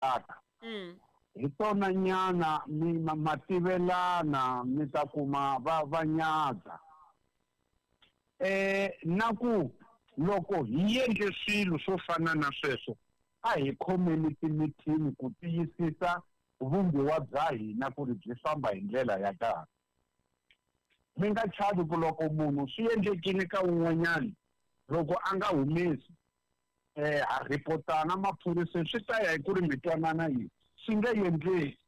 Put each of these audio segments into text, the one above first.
Aka hi tona nyana mi ma tivelana mi ta kuma va va nyadza eh na ku loko hi endle swilo swo fana na sweswo a hi khomeni timithini ku tiyisisa vumbiwa bya hina ku ri byi famba hi ndlela ya kahle. Mi nga chavi ku loko munhu swi endlekile ka un'wanyana loko a nga humesi eh ha ripotana maphoriseni swi ta ya hi ku ri mi twanana yini swi nge endleki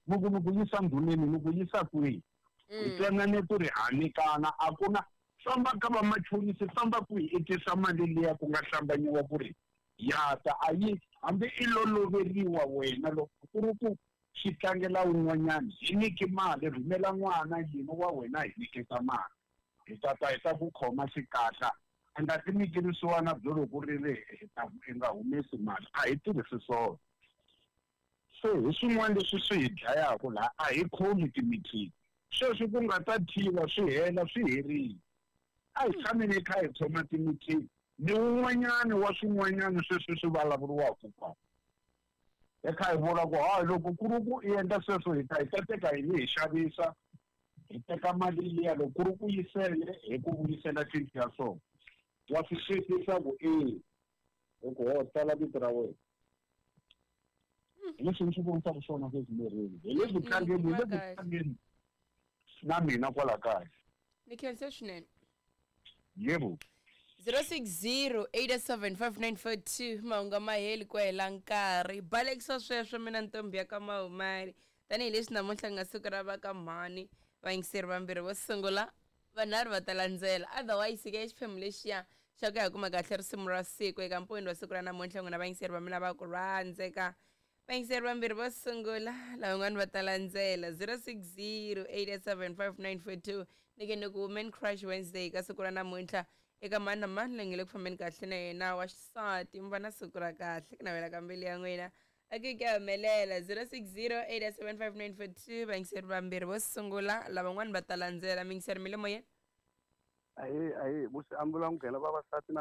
mi ku mi ku yisa ndhuneni mi ku yisa kwihi hi twanane ku ri ha nyikana a ku na famba ka vamachonisi famba kwihi i tisa mali liya ku nga hlambanyiwa ku ri ya ta a yi hambi i lo loveriwa wena loko ku ri ku xi tlangela un'wanyana hi nyiki mali rhumela n'wana yini wa wena hi nyiketa mali hi ta ta hi ta ku khoma xikatla i nga ti nyiki vusiwana byo loko ri ri hi ta i nga humesi mali a hi tirhisi swona se hi swin'wana leswi swi hi dlayaka laha a hi khomi timithini sweswi ku nga ta thyiwa swi hela swi herile a hi tshameni hi kha hi khoma timithini ni wun'wanyana wa swin'wanyana sweswi swi vulavuriwaka kwa hi kha hi vula ku hayi loko ku ri ku i endla sweswo hi ta hi ta teka yini hi xavisa hi teka mali liya loko ku ri ku yisele hi ku vuyisela cinci ya swona wa swi twisisa ku e hi ku ho tsala vito ra wena hi leswi ni swi vonisaka swona sweswi mirini hi le ku tlangeni hi le ku tlangeni na mina kwala kaya. Ni khense swinene. Yebo. 060-875-942 mahungu a ma heli ku hela nkarhi. Balekisa sweswo mina ntombhi ya ka Mahumani. Tanihileswi namuntlha ku nga siku ra va ka mhani, vayingiseri vambirhi vo sungula vanharhu va ta landzela. Otherwise ke xiphemu lexiya xa ku ya kuma kahle risimu ra siku eka mpfuni wa siku ra namuntlha n'wina vayingiseri va mina va ku rhandzeka. Vayingiseri vambirhi vo sungula lavan'wana va ta landzela 0608875942 ni ke ni ku Women Crush Wednesday ka siku ra namuntlha eka mani na mani loyi nge le ku fambeni kahle na yena wa xisati mi va na siku ra kahle ku navela ka mbilu ya n'wina a ke ke humelela 0608875942 vayingiseri vambirhi vo sungula lavan'wana va ta landzela miyingiseri mi le moyeni. Ahee ahee musi ambula nghena vavasati na.